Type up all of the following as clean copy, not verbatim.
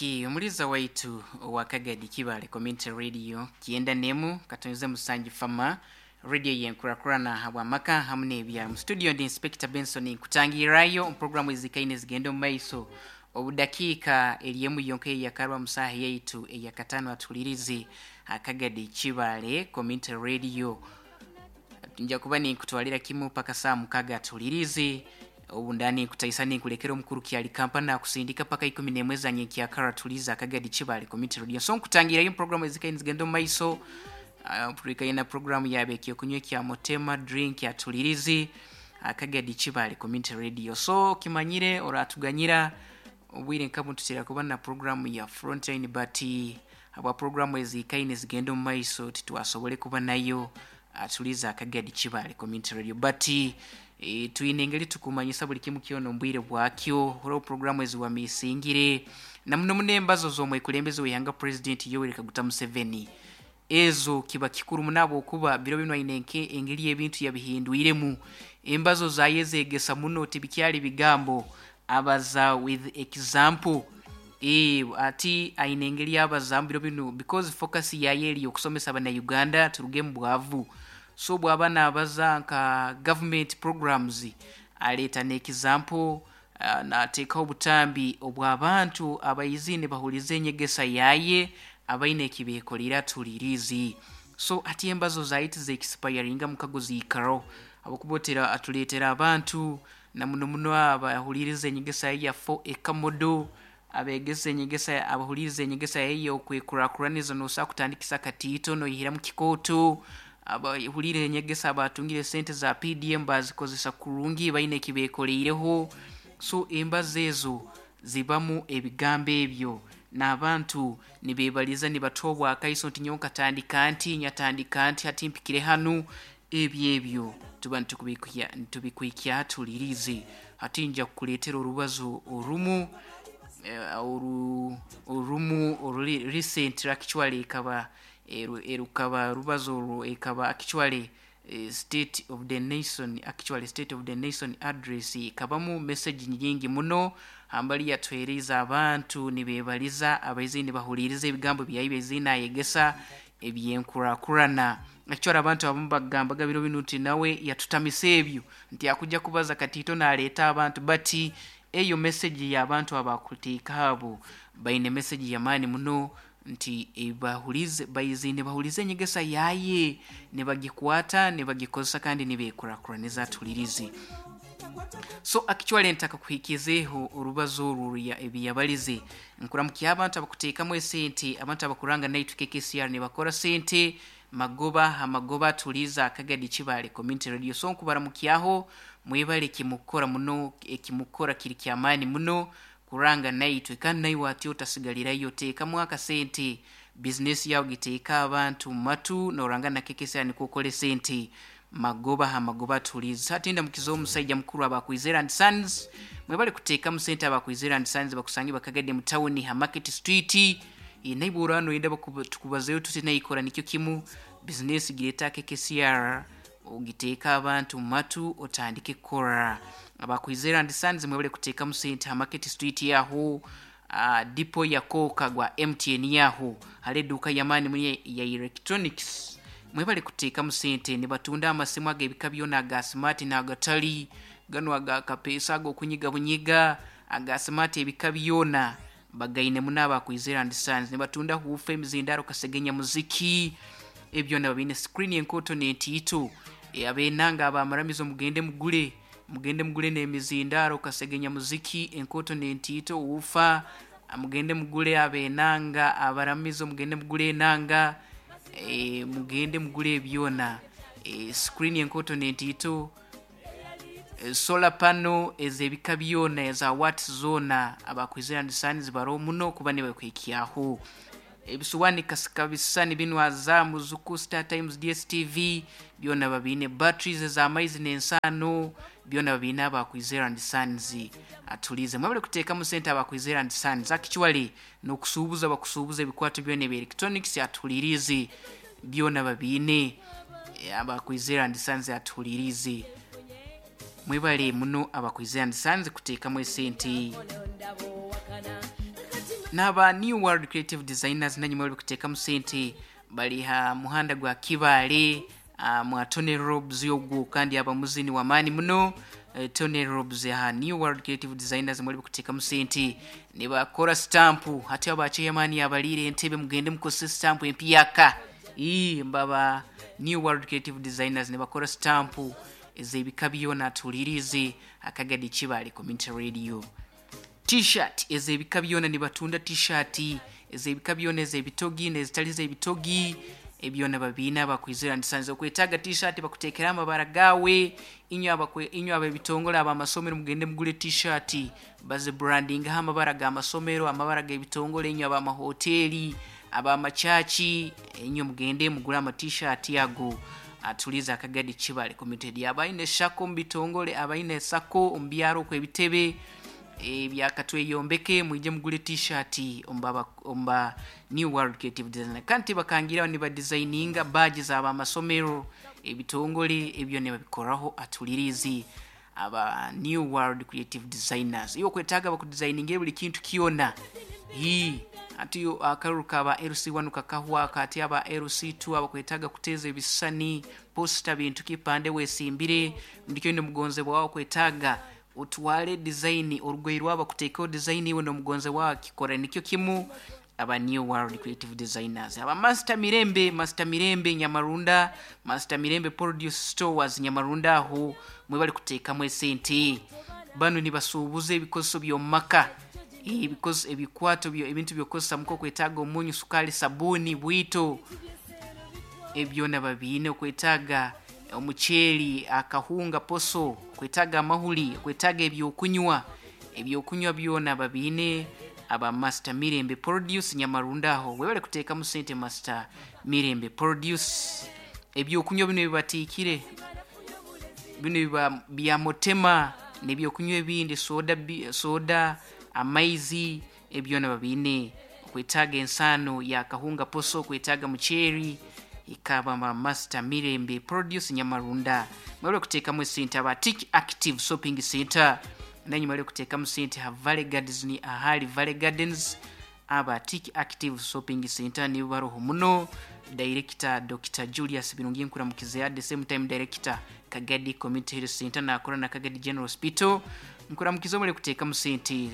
Ki omuliza waitu owa Kagadi Kibale Community Radio 91 7 Fama radio yenkurakurana habwamaka hamu n'ebyaro. Mu studio ndi Inspector Benson, nkutangirrayo omu programu ezikaine zigenda omu maiso. Obudakiika eri emu yonka eyakarwa mu saaha yaitu eyakataano atulirizi Akagadi Kibale Community Radio. Nja kuba ninkutwalira kimu paka saa 6 atulirizi. Obu ndani nkutaisa ninkulekera omukuru kyali kampani akusindika paka 11 za nyenkyakara tuliza Akagadi Kibale Community Radio. So nkutangirayo programu ezikaine zigenda omu maiso. Turikaina programu yabe ekyokunywa kya Motema drink ya tulirizi Akagadi Kibale Community Radio. So kimanyire oratuganyira obwire nkabu tutera kuba na programu ya Frontline, but habwa programu ezikaine zigenda omu maiso titwasobole kuba nayo atuliza Akagadi Kibale Community Radio. But twine engeri tukumanyisa buli kimu kyona ombwire bwakyo horo programu eziwamisingire na muno muno embazo z'omwekulembeze w'ihanga President Yoweri Kaguta Museveni. Ezo kiba kikuru munabo okuba biro bino aine nke engeri ebintu yabihindwiremu. Embazo zaye zegesa muno tibikyali bigambo, abaza with example. Ati aine engeri abaza biro bino because focus yaye eri okusomesa abana Uganda turuge mu bwavu. So bwaba nabaza nka government programs aleeta n'example, nateekaho obutambi obw'abantu abaizine bahulize enyegesa yaye abaine ekibeekolera tulirizi. So ati embazo zaitu zeexpiringa mukago ziikaro abokubotera atuleetera abantu na muno muno abahuliriza enyegesa ya 4 ekamodo abegesa enyegesa abahuliriza enyegesa yayo okwekurakuraniza nosa kutandikisa katiito noyihira mu kikooto abahulira enyegesa abatungire sente za PDM bazikozesa kurungi baine ekibeekoleireho. So embazo ezo zibamu ebigambo ebyo n'abantu nibebaliza nibatobwa akaiso nti nyowe nkatandika nti nyatandika nti hati mpikire hanu. Ebyo ebyo tuba nitubikwikya tulirize. Hati nja kukuleetera orubazo orumu orumu oruli recent actually ekaba erukaba rubazo orwo ekaba actually state of the nation, actually state of the nation address ekabamu message nyingi muno hambali yatwereiza abantu nibebaliza abaizi nibahuliriza ebigambo byayi ezina ayegesa ebyenkurakurana. Actually abantu abamu bagambaga biro bino nti nawe yatutamisa ebyo nti akujja kubaza katito naleeta abantu, but eyo message y'abantu abakuteeka abo baine message y'amaani muno nti bahulize baizine bahulize enyegesa yaye nibagikwata nibagikozesa kandi nibekurakuraniza tulirize. So actually ntaka kuhikizeho orubazo orwo ebiyabalize nkuramukia abantu abakuteekamu esente abantu abakuranga naitu KKCR nibakora sente magoba amagoba tuliza Akagadi Kibale Community Radio. So nkubaramukyaho mwebale kimukora muno ekimukora kiri kyamaani muno kuranga naitwe kandi naiwe ati otasigalirayo teekamu akasente business yawe giteeka abantu matu noranga na KKCR nikwo okole sente magoba amagoba tuliza. Hatinda mukizo omusajja mukuru abakwizera and Sons mwebale kuteekamu sente abakwizera and Sons bakusange bakagadde mu town ha Market Street naibura no yenda tukubazeyo tuti naikora nikyo kimu business gireta KKCR ogiteeka abantu matu otandike kukora. Abakwizera and Sons mwebale kuteekamu sente ha Market Street yaho dipo ya Coca gwa MTN yaho hali edduuka yamaani muni ya electronics mwebale kuteekamu sente nibatunda amasimu ag'ebika byona aga smart n'agatali gano aga kapeesa ag'okunyiga bunyiga aga smart ebika byona bagaine muno abakwizera and Sons nibatunda huufa emizindaro kasegenya muziki ebyo nabo biine screen enkoto n'entiito abenanga abamaramizo mugende mugule mugende mugule n'emizindaro kasegenya muziki enkoto n'entiito wuufa mugende mugule abenanga abaramizo mugende mugule enanga mugende mugule ebyona screen enkoto n'entiito solar panel ez'ebika byona eza watts zona abakwizera and Sons baro muno kuba nibakwikyaho ebisuwani kasika bisani bino Azamu Zuku Star Times DSTV byona babine batteries ez'amaizi n'ensaano byona babine abakwizera and Sons atulize mwebale kuteekamu sente abakwizera and Sons. Actually n'okusuubuza bakusuubuza ebikwato byona ebya electronics atulirize byona babine abakwizera and Sons atulirize mwebale muno abakwizera and Sons kuteekamu esente. N'aba New World Creative Designers nanyuma bari kuteekamu sente, bari ha muhanda gwa Kibaale, mwa Tony Robs ogwo, kandi aba muzini w'amaani muno. Tony Robs aha New World Creative Designers mwari kuteekamu sente. Nibakora stampu, hati aba chairman abaliire entebe, mugende mukozese stampu empyaka. Ii mbaba New World Creative Designers nibakora stampu ez'ebika byona. Tuhulirize Akagadi Kibaale Community Radio. T-shirt ez'ebika byona, nibatunda t-shirt ez'ebika byona, ez'ebitogi n'ezitali z'ebitogi, ebyona babiina. Bakwizira ndisanze okwetaaga t-shirt, bakuteekera amabara gawe. Inywe ab'ebitongole, ab'amasomero, mugende mugule t-shirt, bazibrandingaho amabara g'amasomero, amabara g'ebitongole. Inywe ab'amahoteli, ab'amachachi, inywe mugende mugule ama t-shirt ago. Atuliza Akagadi Kibale Community. Abaine SACCO mu bitongole, abaine SACCO omu byaro okw'ebitebe ebyakatweyombeke, mwije mugule t-shirt omba New World Creative Design. Kandi bakangira nibadesigninga badge z'abamasomero, ebitongole, ebyo nibabikoraho. Atulirizi aba New World Creative Designers, iwe okwetaaga bakudesigningira buli kintu kyona. Hii ati akaruru kaba LC1 kakahwa, kati aba LC2 abakwetaaga kuteeza ebisisani, poster, bintu kipande wesimbire ndikyo mugonzebwa wawe, kwetaaga utwale design orugoye rwabo kuteekaho design, iwe n'omugonze wawe kikora nikyo kimu, aba New World Creative Designers. Aba Master Mirembe, Master Mirembe Nyamarunda, Master Mirembe Produce Stores Nyamarunda, aho mwe bali kuteekamu esente. Bano nibasuubuza ebikozeso by'omu maka, ebikozeso, ebikwato byo, ebintu by'okukozesa muka, okwetaaga omunyu, sukaali, sabuuni, bwito, ebyona babiine. Okwetaaga omuceeri, akahunga, poso, okwetaaga amahuri, okwetaaga ebyokunywa, ebyokunywa byona babiine. Aba Master Mirembe Produce Nyamarunda, aho webale kuteekamu sente. Master Mirembe Produce, ebyokunywa bino bibatiikire, bino biba bya mutema n'ebyokunywa ebindi, soda, soda, amaizi, ebyona babiine. Okwetaaga ensaano ya kahunga, poso, okwetaaga muceeri, ikaba ba Master Mirembe Produce Nyamarunda, mwebale kuteekamu esente. Aba Tik Active Shopping Center nanyu mwebale kuteekamu sente ha Valley Gardens, ni ahali Valley Gardens. Aba Tik Active Shopping Center nibo baroho muno. Director Dr Julius Birungi nkuramukize, at the same time director Kagadi Community Health Center, nakora na Kagadi General Hospital, nkuramukize, omule kuteekamu sente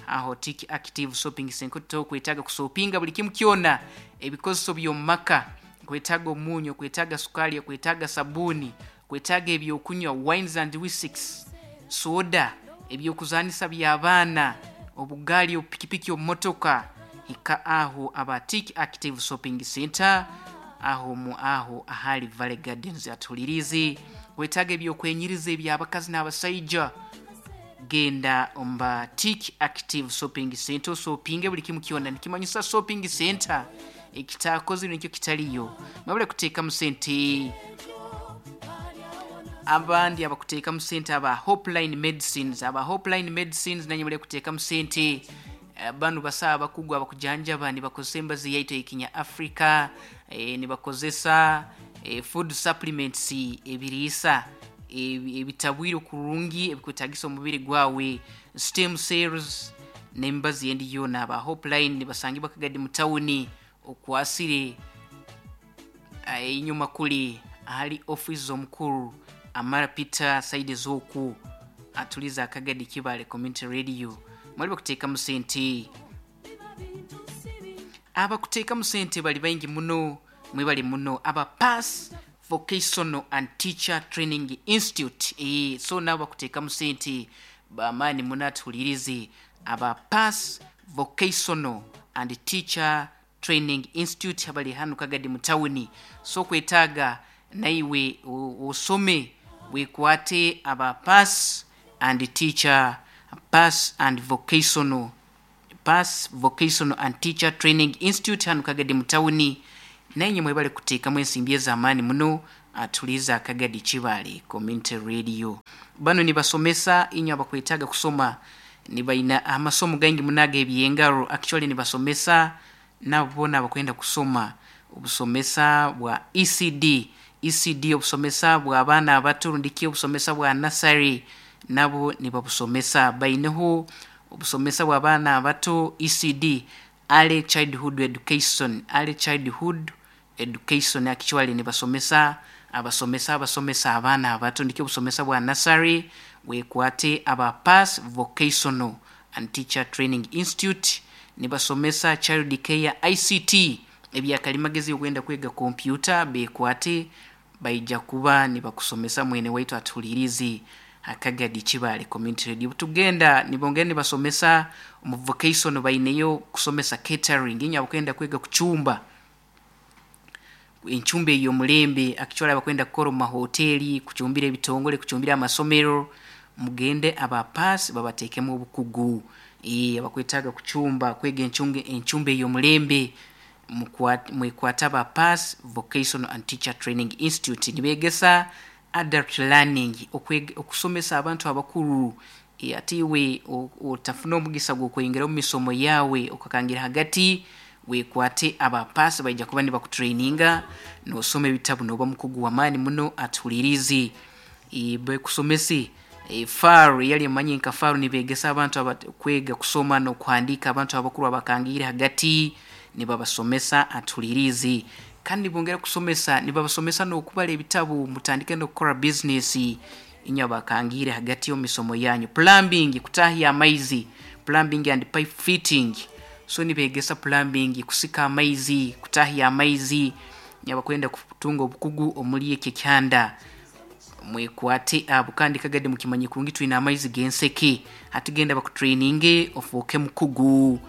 aho Tik Active Shopping Center. Tokwetaaga kusopinga buli kimu kyona, ebikozeso by'omu maka, kwetaaga omunyu, kwetaaga sukali, kwetaaga sabuuni, kwetaaga ebyokunywa, wines and whiskies, soda, ebyokuzanisa by'abaana, obugaali, obupikipiki, obumotoka, hika aho aba Tik Active Shopping Center, aho mu aho ahali Valley Gardens. Atulirize, wetaaga ebyokwenyiriza eby'abakazi n'abasaija, genda omba Tik Active Shopping Center, osopinge buli kimu kyona. Nikimanyisa shopping center ekitakozire nikyo kitaliyo. Mwebale kuteekamu sente. Abandi abakuteekamu sente, aba Hopeline Medicines, aba Hopeline Medicines nanye bali kuteekamu sente. Bano basawo abakugu abakujanjaba, nibakozesa embazi yaitu ekinya Africa, nibakozesa food supplements, ebiriisa ebitabwire kurungi ebikwetagisa omubiri gwawe, stem cells n'emibazi endi yoona. Aba Hopeline nibasangibwa Kagadi mu tawuni, okwasire enyuma kuli ahali office omukuru Amara Peter, side z'oku. Atuliza Akagadi Kibale Community Radio, mwali bakuteekamu sente. Abakuteekamu sente bali baingi muno, mwebali muno. Aba Pass Vocational and Teacher Training Institute, so nabo bakuteekamu sente bamaani muno. Atuhulirize aba Pass Vocational and Teacher Training Institute abali hanu Kagadi mu tawuni. So kwetaaga naiwe osome, wekwate aba Pass and Teacher, Pass and Vocational, Pass Vocational and Teacher Training Institute hanu Kagadi mu tawuni, naye mwebale kuteekamu ensimbi ez'amaani muno. Atuliza Akagadi Kibaale Community Radio. Bano nibasomesa inywe abakwetaaga kusoma, nibaina amasomo gaingi muno ag'ebyengaro. Actually nibasomesa nabo boona abakwenda kusoma obusomesa bwa ECD, ECD, obusomesa bw'abaana abato, rundiki obusomesa bwa nursery, nabo nibabusomesa. Baineho obusomesa bw'abaana abato, ECD. Early Childhood Education, Early Childhood Education actually nibasomesa abasomesa abasomesa abaana abato nikyo obusomesa bwa nursery. Wekwate aba Pass Vocational and Teacher Training Institute nibasomesa Child Care, ICT, ebyakalimagezi, okwenda kwega kompyuta, bekwate baija kuba nibakusomesa. Mwene waitu atuhulirizi Akagadi Kibale Community Radio, tugenda nibongera nibasomesa omu vocation, baineyo kusomesa catering. Inywe abakwenda kwega kucumba enchumba ey'omulembe, actually abakwenda kukora omu mahoteli, kucumbira ebitongole, kucumbira amasomero, mugende aba Pass babateekemu obukugu. Abakwetaaga kucumba, kwega enchumba ey'omulembe, mwekwate aba Pass Vocational and Teacher Training Institute. Nibeegesa adult learning, okusomesa abantu abakuru. Ate iwe otafuna omugisa gw'okweyongera omu misomo yaawe okakangira hagati, wekwate aba Pass baija kuba nibakutraininga nosoma ebitabu noba mukugu w'amaani muno. Atuhulirizi, bekusomese FAR, yali emanyi nka FAR, nibeegesa abantu kwega kusoma n'okuhandiika, abantu abakuru abakangiire hagati nibabasomesa. Atuhulirizi, kandi nibongera kusomesa, nibabasomesa n'okubara ebitabu, mutandike n'okukora bizinesi inywe abakangiire hagati omu misomo yanyu. Plumbing, kutahya amaizi, plumbing and pipe fitting. So nibeegesa plumbing, kusika amaizi, kutahya amaizi. Abakwenda kutunga obukugu omuli ekyo ekyanda, mwekwate abo. Kandi Kagadi mukimanye kurungi twine amaizi g'enseke, hati genda bakutraininge ofuuke mukugu.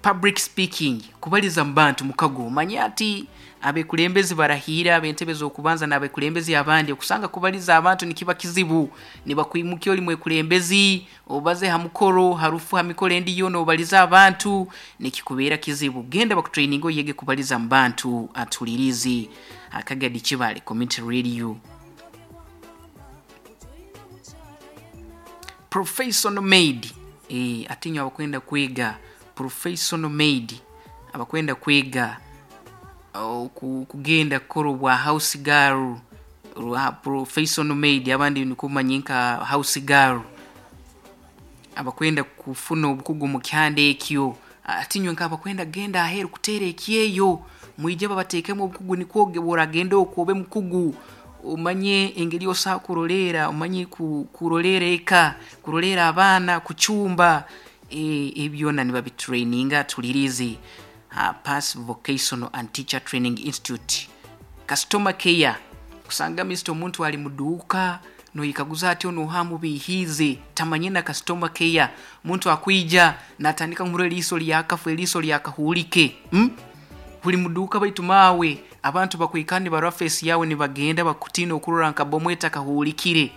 Public speaking, kubaliza mu bantu, mukago. Omanye ati abekulembezi barahiire ab'entebe z'okubanza n'abekulembezi abandi, okusanga kubaliza abantu nikiba kizibu. Nibakwimukya oli mwekulembezi obaze ha mukoro, harufu ha mikoro endi yoona, obalize abantu nikikubeera kizibu. Genda bakutraininga oyege kubaliza mu bantu. Atuhulirizi Akagadi Kibale Community Radio. Professional maid, ate inywe abakwenda kwega professional maid, abakwenda kwega kugenda kukora obwa house girl, professional maid, abandi nikumanya nka house girl, abakwenda kufuna obukugu mu kyanda ekyo, ate inywe nk'abakwenda kugenda aheeru kuteera ekyeyo, mwije babateekemu obukugu nikwo bw'oragenda okwo obe mukugu, omanye engeri osobola kuroleera, omanye kuroleera eka, kuroleera abaana, kucumba, ebi byona nibabitraininga. Tulirizi Pass Vocational and Teacher Training Institute. Customer care, kusanga mister omuntu ali muduuka noyekaguza ati onu oha amubiihiize, tamanye na customer care. Omuntu akwija natandika kumurora eriiso lyakafa, eriiso lyakahuulike, Buli muduuka, baitu maawe abantu bakwikara nibarora face yawe nibagenda bakutiina okurora nka bomu etakahuulikire,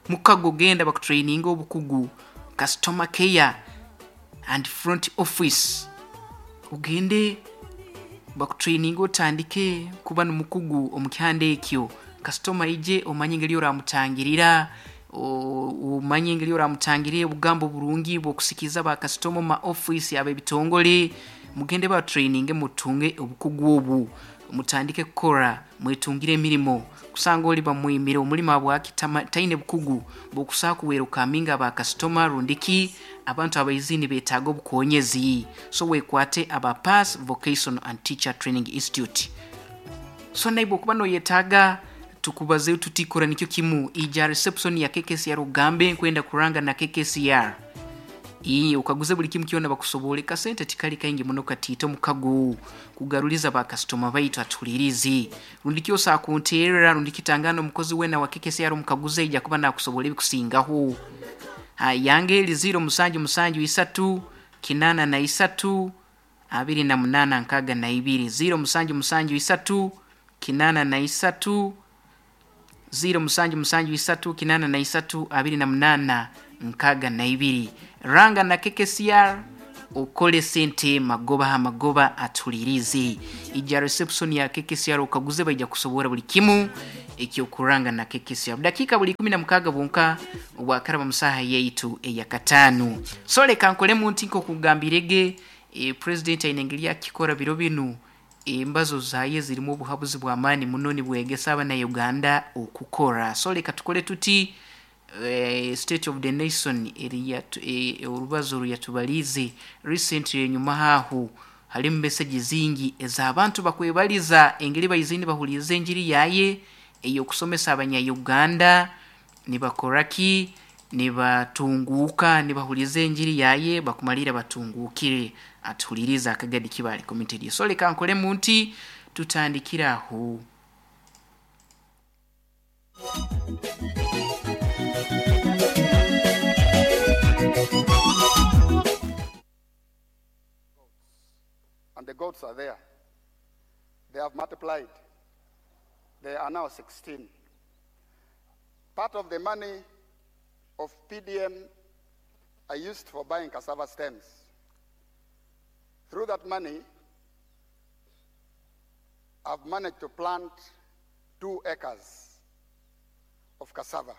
Mukago genda bakutraininga obukugu customer care and front office, ogende bakutraininga otandike kuba n'omukugu omu kyanda ekyo. Kasitoma aije omanye engeri oramutangirira, omanye engeri oramutangirira, obugambo burungi bw'okusikiza bakasitoma omu ma ofiisi ab'ebitongole. Mugende batraininge mutunge obukugu obu, mutandike kukora mwetungire emirimo. Kusanga oli bamwimire omulimo habwaki? Taine bukugu bw'okusobola kuwerukaminga bakasitoma rundiki abantu abaizi nibetaaga obukonyezi. So wekwate aba Pass Vocational and Teacher Training Institute. So naibwe okuba noyetaaga tukubazeyo tutikora nikyo kimu, ija reception ya KKCR ogambe nkwenda kuranga na KKCR, okaguze buli kimu kyona bakusobole. Kasente tikali kaingi muno katiito omukago kugaruliza bakasitoma baitu. Atuhulirizi, rundi kyosa kunteerera rundi kitangana omukozi weena wa KKCR omukaguze, ija kuba nakusobola ebikusingaho. Yange eri 0773 83 28 62, 0773 83, 0773 83 28 62. Ranga na KKCR okole sente magoba ha magoba. Atulirize, ija reception ya KKCR okaguze, baija kusobora buli kimu ekyokuranga na KKCR. Dakiika buli 16 bwonka obwakaraba musaha yaitu eyakataano. So leka nkolemu nti nkokugambirege, president aine engeri akikora biro binu, embazo zaye zirimu obuhabuzi bw'amaani muno, nibwegesa abana Uganda okukora. So leka tukole tuti. State of the Nation orubazo ruyatubalize recently. Enyuma haho halimu message zingi ez'abantu bakwebaliza engeri baizini bahulize enjiri yaye ey'okusomesa abanya-Uganda, nibakoraki, nibatunguka, nibahuliza enjiri yaye bakumalira batungukire. Atuhuliriza akagadi kibali committed. So leka nkolemu nti tutandikira aho. And the goats are there. They have multiplied. They are now 16. Part of the money of PDM I used for buying cassava stems. Through that money, I've managed to plant 2 acres of cassava.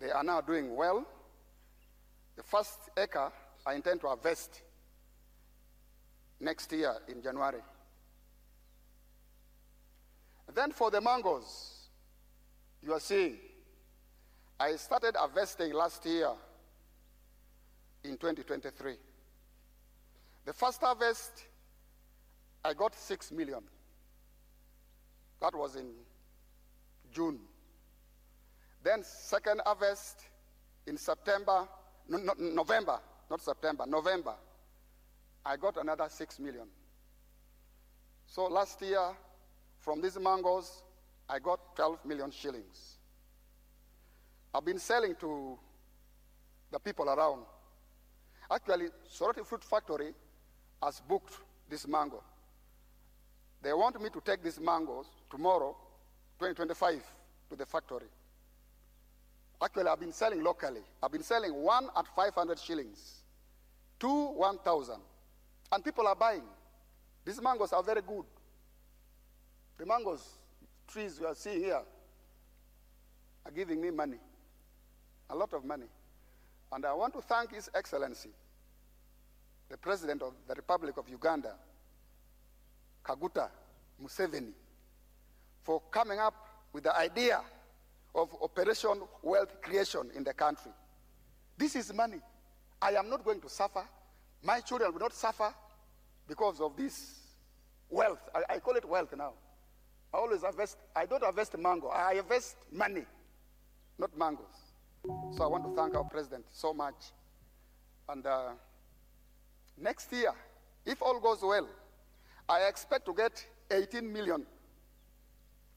They are now doing well. The first acre I intend to harvest next year in January. Then for the mangoes, you are seeing, I started harvesting last year in 2023. The first harvest, I got 6 million. That was in June. Then second harvest in September, no, no, November, not September, November, I got another 6 million. So last year, from these mangoes, I got 12 million shillings. I've been selling to the people around. Actually, Soroti Fruit Factory has booked this mango. They want me to take these mangoes tomorrow, 2025, to the factory. Actually, I've been selling locally. I've been selling one at 500 shillings, two 1,000. And people are buying. These mangoes are very good. The mangoes, trees you are seeing here, are giving me money, a lot of money. And I want to thank His Excellency, the President of the Republic of Uganda, Kaguta Museveni, for coming up with the idea of Operation Wealth Creation in the country. This is money. I am not going to suffer. My children will not suffer because of this wealth. I call it wealth now. I always harvest. I don't harvest mango. I harvest money, not mangoes. So I want to thank our president so much. And next year, if all goes well, I expect to get 18 million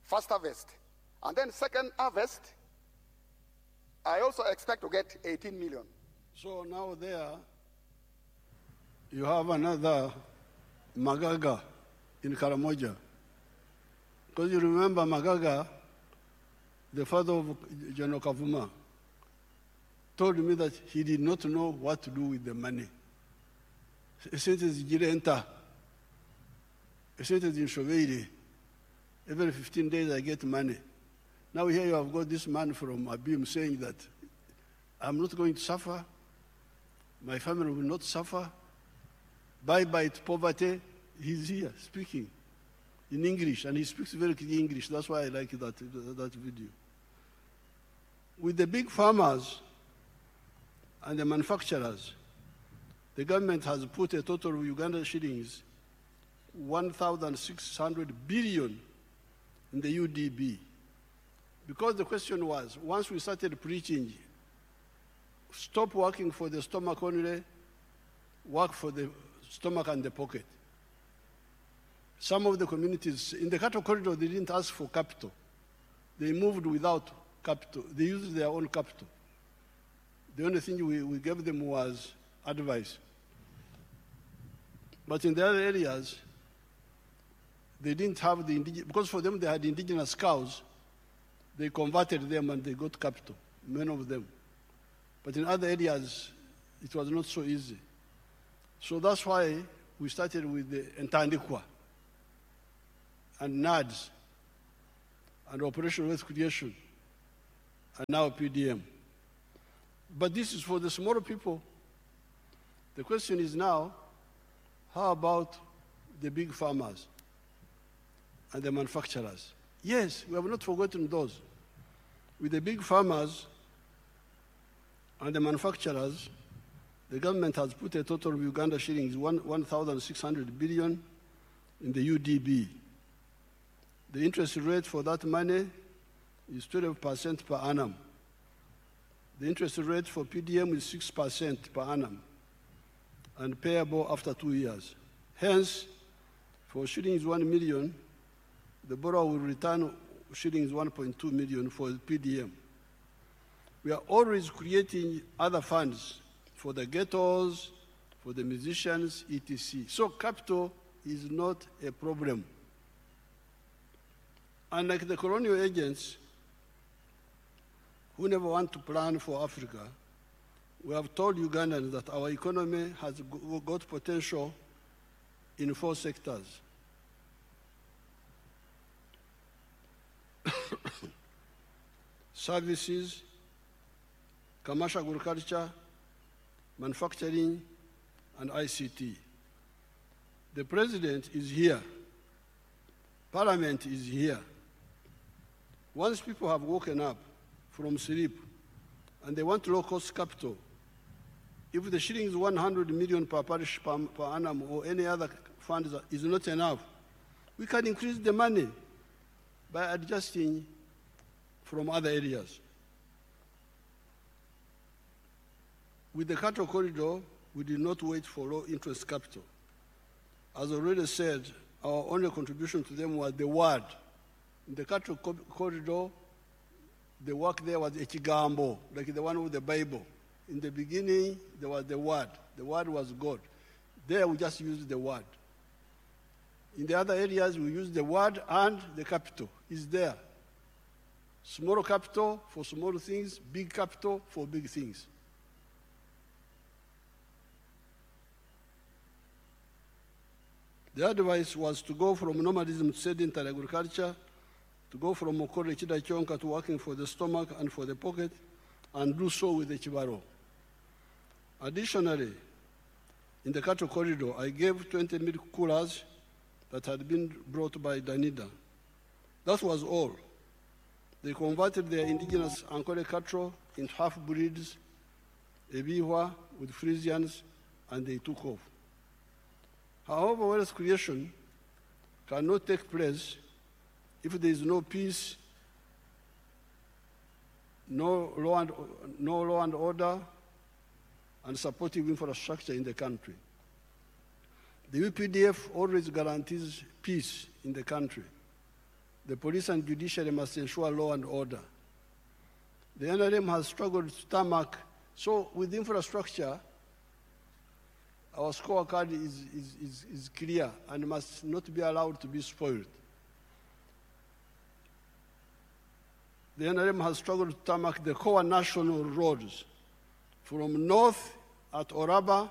first harvest. And then second harvest, I also expect to get 18 million. So now there, you have another Magaga in Karamoja. Because you remember Magaga, the father of General Kavuma, told me that he did not know what to do with the money. Esente zigirenta, esente zinshobeire. Every 15 days I get money. Now here you have got this man from Abim saying that I'm not going to suffer, my family will not suffer, bye-bye to poverty. He's here speaking in English, and he speaks very clear English. That's why I like that video. With the big farmers and the manufacturers, the government has put a total of Uganda shillings 1,600 billion in the UDB. Because the question was, once we started preaching, stop working for the stomach only, work for the stomach and the pocket. Some of the communities, in the cattle corridor, they didn't ask for capital. They moved without capital. They used their own capital. The only thing we gave them was advice. But in the other areas, they didn't have the indigenous, because for them they had indigenous cows, they converted them and they got capital, many of them. But in other areas, it was not so easy. So that's why we started with the Entandikwa and NADS and Operation Wealth Creation and now PDM. But this is for the smaller people. The question is now, how about the big farmers and the manufacturers? Yes, we have not forgotten those. With the big farmers, And the manufacturers, the government has put a total of Uganda shillings 1,600 billion in the UDB. The interest rate for that money is 12% per annum. The interest rate for PDM is 6% per annum and payable after 2 years. Hence, for shillings 1 million, the borrower will return shillings 1.2 million for PDM. We are always creating other funds for the ghettos, for the musicians, etc. So capital is not a problem. Unlike the colonial agents who never want to plan for Africa, we have told Ugandans that our economy has got potential in four sectors: services, commercial agriculture, manufacturing, and ICT. The president is here. Parliament is here. Once people have woken up from sleep and they want low-cost capital, if the shillings 100 million per parish per annum or any other funds is not enough, we can increase the money by adjusting from other areas. With the cattle corridor, we did not wait for low interest capital. As already said, our only contribution to them was the word. In the cattle corridor, the work there was ekigambo, like the one with the Bible. In the beginning, there was the word. The word was God. There, we just used the word. In the other areas, we use the word and the capital is there. Small capital for small things, big capital for big things. The advice was to go from nomadism to sedentary agriculture, to go from Mokore Chidachonka to working for the stomach and for the pocket, and do so with the Chibaro. Additionally, in the cattle corridor, I gave 20 milk coolers that had been brought by Danida. That was all. They converted their indigenous Ankole cattle into half-breeds, Ebihwa with Friesians, and they took off. However, wealth creation cannot take place if there is no peace, no law and order, and supportive infrastructure in the country. The UPDF always guarantees peace in the country. The police and judiciary must ensure law and order. The NRM has struggled to tarmac. So with infrastructure, our scorecard is clear and must not be allowed to be spoiled. The NRM has struggled to tarmac the core national roads from north at Oraba,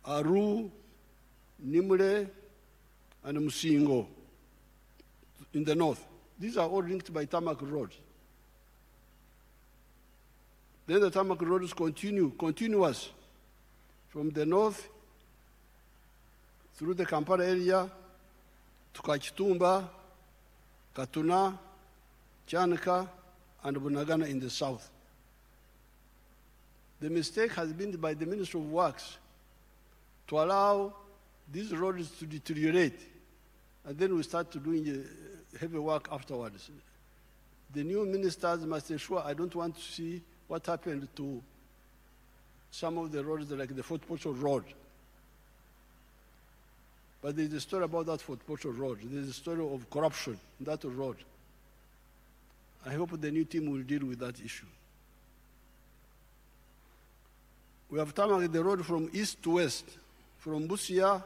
Aru, Nimule, and Musingo in the north. These are all linked by tarmac roads. Then the tarmac roads continue, continuous, from the north through the Kampala area to Kakitumba, Katuna, Kyanika, and Bunagana in the south. The mistake has been by the Ministry of Works to allow these roads to deteriorate, and then we start to doing heavy work afterwards. The new ministers must ensure, I don't want to see what happened to some of the roads, like the Fort Portal Road. But there's a story about that Fort Portal Road. There's a story of corruption in that road. I hope the new team will deal with that issue. We have tarmacked the road from east to west, from Busia,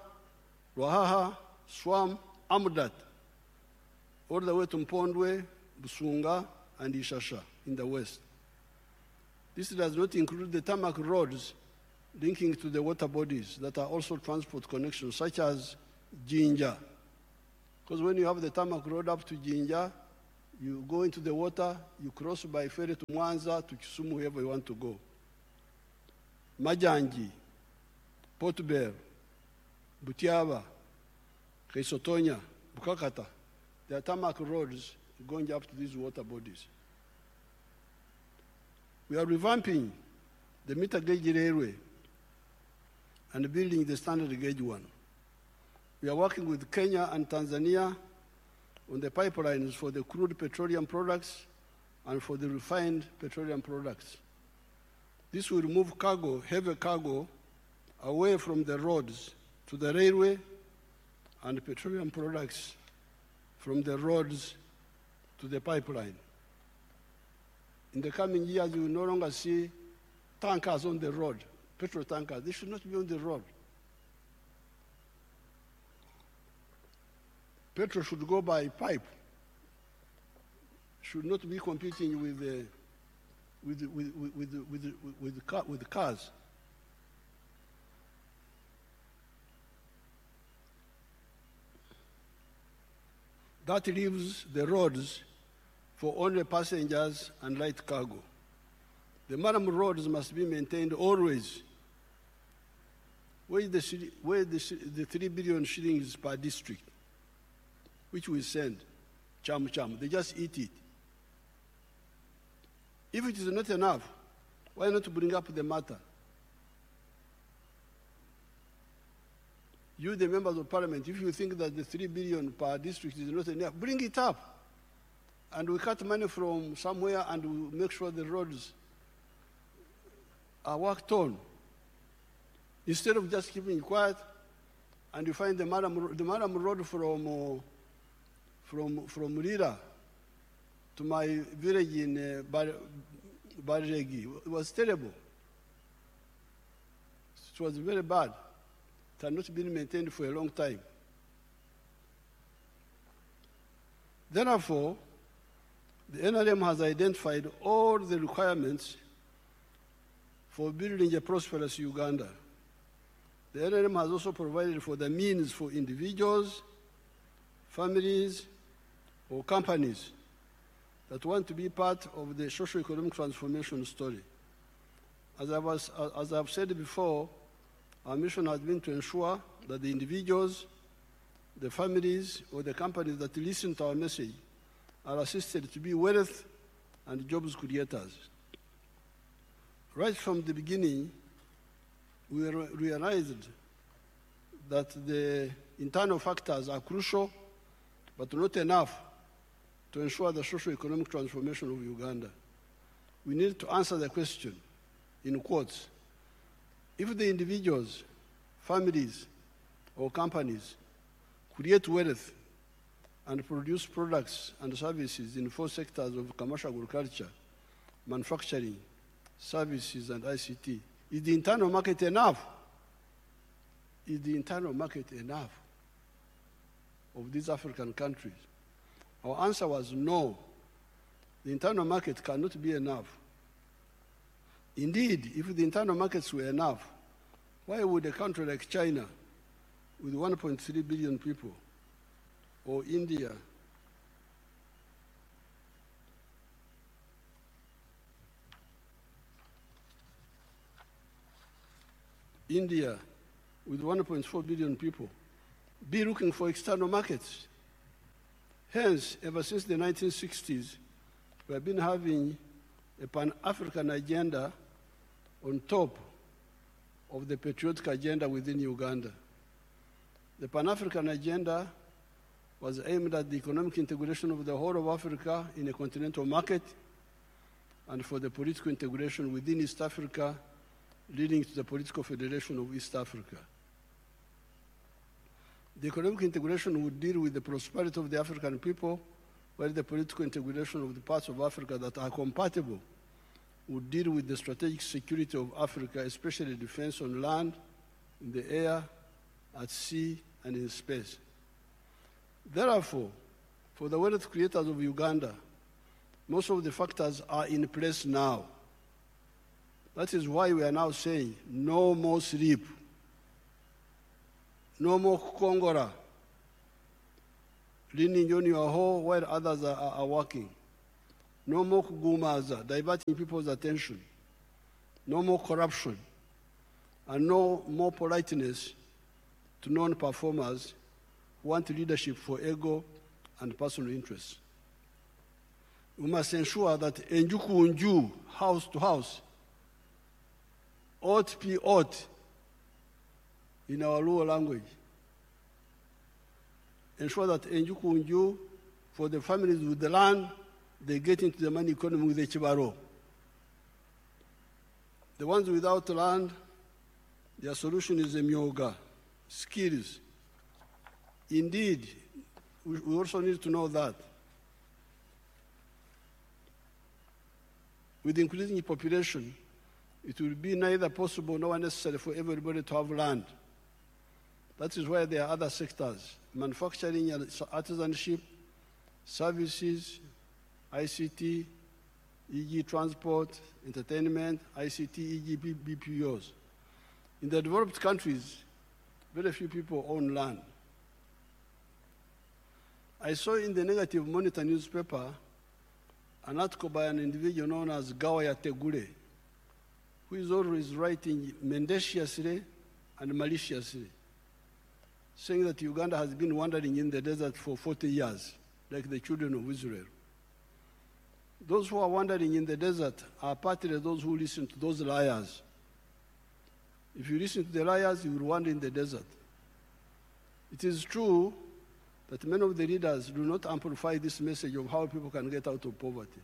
Ruaha, Swam, Amudat, all the way to Mpondwe, Busunga, and Ishasha in the west. This does not include the tarmac roads linking to the water bodies that are also transport connections, such as Jinja. Because when you have the tarmac road up to Jinja, you go into the water, you cross by ferry to Mwanza, to Kisumu, wherever you want to go. Majanji, Port Bell, Butiaba, Kaisotonya, Bukakata. There are tarmac roads going up to these water bodies. We are revamping the meter gauge railway and building the standard gauge one. We are working with Kenya and Tanzania on the pipelines for the crude petroleum products and for the refined petroleum products. This will move cargo, heavy cargo, away from the roads to the railway and petroleum products from the roads to the pipeline. In the coming years, you will no longer see tankers on the road, petrol tankers. They should not be on the road. Petrol should go by pipe, should not be competing with cars. That leaves the roads for only passengers and light cargo. The murram roads must be maintained always. Where is the 3 billion shillings per district, which we send, cham cham, they just eat it. If it is not enough, why not bring up the matter? You, the members of parliament, if you think that the 3 billion per district is not enough, bring it up. And we cut money from somewhere and we make sure the roads are worked on. Instead of just keeping quiet, and you find the murram road from Lira to my village in Baregi, it was terrible. It was very bad. It had not been maintained for a long time. Therefore, the NRM has identified all the requirements for building a prosperous Uganda. The NRM has also provided for the means for individuals, families, or companies that want to be part of the socio-economic transformation story. As I've said before, our mission has been to ensure that the individuals, the families, or the companies that listen to our message are assisted to be wealth and jobs creators. Right from the beginning, we realized that the internal factors are crucial, but not enough to ensure the socio-economic transformation of Uganda. We need to answer the question, in quotes, if the individuals, families, or companies create wealth and produce products and services in 4 sectors of commercial agriculture, manufacturing, services, and ICT, is the internal market enough? Is the internal market enough of these African countries? Our answer was no. The internal market cannot be enough. Indeed, if the internal markets were enough, why would a country like China, with 1.3 billion people, or India, with 1.4 billion people, be looking for external markets? Hence, ever since the 1960s, we have been having a Pan-African agenda on top of the patriotic agenda within Uganda. The Pan-African agenda was aimed at the economic integration of the whole of Africa in a continental market and for the political integration within East Africa, leading to the political federation of East Africa. The economic integration would deal with the prosperity of the African people, while the political integration of the parts of Africa that are compatible would deal with the strategic security of Africa, especially defense on land, in the air, at sea, and in space. Therefore, for the wealth creators of Uganda, most of the factors are in place now. That is why we are now saying no more sleep, no more kongora, leaning on your hoe while others are working. No more kugumaza, diverting people's attention. No more corruption, and no more politeness to non-performers who want leadership for ego and personal interests. We must ensure that enjuku unju, house to house, Ot pi ot in our Luo language. Ensure that enju ku nju, for the families with the land, they get into the money economy with the chibaro. The ones without land, their solution is emyoga, skills. Indeed, we also need to know that with increasing population, it will be neither possible nor necessary for everybody to have land. That is why there are other sectors, manufacturing and artisanship, services, ICT, e.g. transport, entertainment, ICT, e.g. BPOs. In the developed countries, very few people own land. I saw in the Negative Monitor newspaper an article by an individual known as Gawaya Tegule, who is always writing mendaciously and maliciously, saying that Uganda has been wandering in the desert for 40 years, like the children of Israel. Those who are wandering in the desert are partly those who listen to those liars. If you listen to the liars, you will wander in the desert. It is true that many of the leaders do not amplify this message of how people can get out of poverty.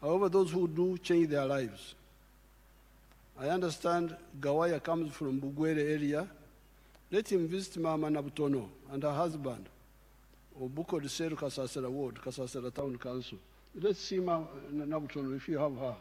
However, those who do change their lives. I understand Gawaya comes from Bugwere area. Let him visit Mama Nabutono and her husband, Obuko Seru Kasasera Ward, Kasasera Town Council. Let's see Mama Nabutono if you have her.